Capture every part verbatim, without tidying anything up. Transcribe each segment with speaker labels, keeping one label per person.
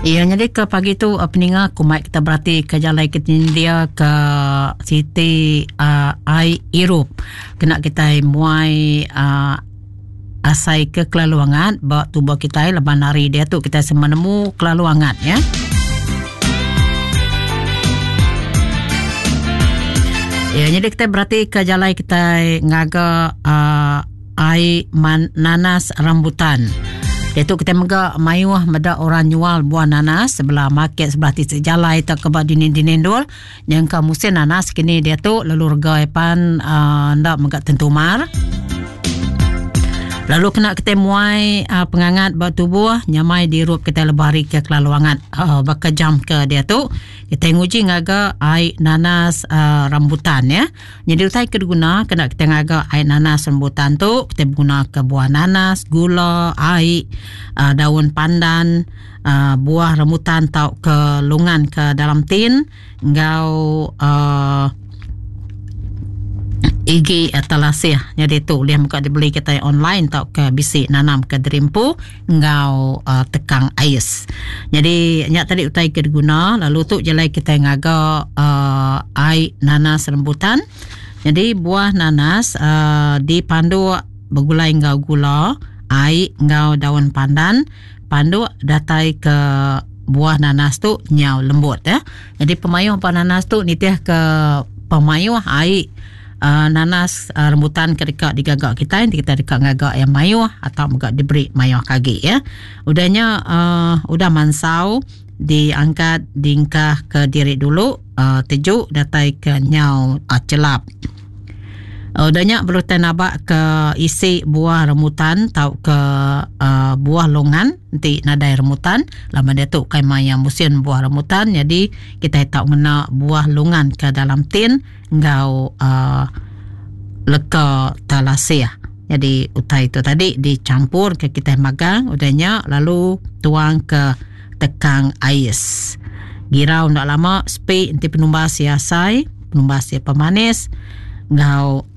Speaker 1: Iya jadi ke pagi tu uh, peninga aku mai kita berarti ke jalai ke India ke Siti uh, ai Irup kena kita muai uh, asai ke kelalu angat ba tubuh kita leban hari dia tu kita semua nemu kelalu angat ya. Ya jadi kita berarti ke jalai kita ngaga uh, ai man, nanas rambutan. Dia tu kita mega mayuh meda orang jual buah nanas sebelah market sebelah titik jalai tak ke ba dinding-dinding dul. Yang ke musim nanas kini dia tu lalu rega pan uh, ndak mega tentu mar. Lalu kena kita muai uh, pengangat ba tubuh nyamai dirup kita lebari ke kelalu angat uh, baka jam ke dia tu kita nguji ngaga ai nanas uh, rambutan ya. Jadi utai ke diguna kena kita ngaga ai nanas rambutan tu kita guna ke buah nanas, gula, ai, uh, daun pandan, uh, buah rambutan tau ke lungan ke dalam tin ngau uh, igi atau lasih. Jadi tu dia muka dibeli kita online tau ke bisi nanam ke derimpu ngau uh, tekang ais. Jadi nyak tadi utai ke diguna lalu tu jalai kita ngaga uh, ai nanas rambutan. Jadi buah nanas uh, dipandu bergulai ngau gula, ai ngau daun pandan, pandu datai ke buah nanas tu nyau lembut ya. Jadi pemayuh buah nanas tu nitih ke pemayuh ai Uh, nanas uh, rambutan ke dekat digagak kita kita dekat ngagak yang mayuh atau megak diberi mayuh kagi ya. Udahnya uh, udah mansau diangkat dingkah ke diri dulu uh, tejuk datai ke nyau uh, celap. Uh, udahnya perlu nabak ke isi buah rambutan atau ke uh, buah longan nanti nadai rambutan lama dia tu kai maya musim buah rambutan jadi kita tak ngena buah longan ke dalam tin ngau uh, leka talasih. Jadi utai itu tadi dicampur ke kita magang udahnya lalu tuang ke tekang ais. Girau ndak lama sepi nanti penumbas siasai, penumbas sia pemanis ngau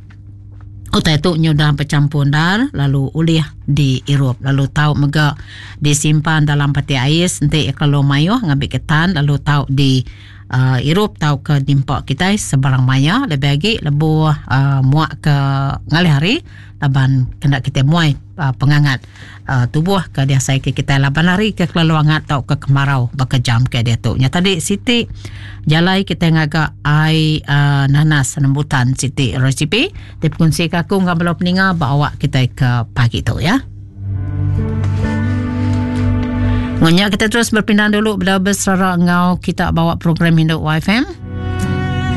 Speaker 1: utai tu nyudah bercampur dar lalu ulih diirup lalu tau mega disimpan dalam peti ais nanti kalau mayuh ngambil ketan lalu tau di uh, irup tau ke dimpak kita sebarang maya lebih lagi lebuh uh, muak ke ngalih hari laban kena kita muai uh, pengangat uh, tubuh ke dia saya ke kita laban hari ke kelalu angat tau ke kemarau baka jam ke dia tu. Nya tadi Siti jalai kita ngagak ai uh, nanas rambutan Siti resipi dikongsi ke aku ngam bala peninga bawa kita ke pagi tu ya. Ngunya kita terus berpindah dulu bela beserara ngau kita bawa program Induk Y F M.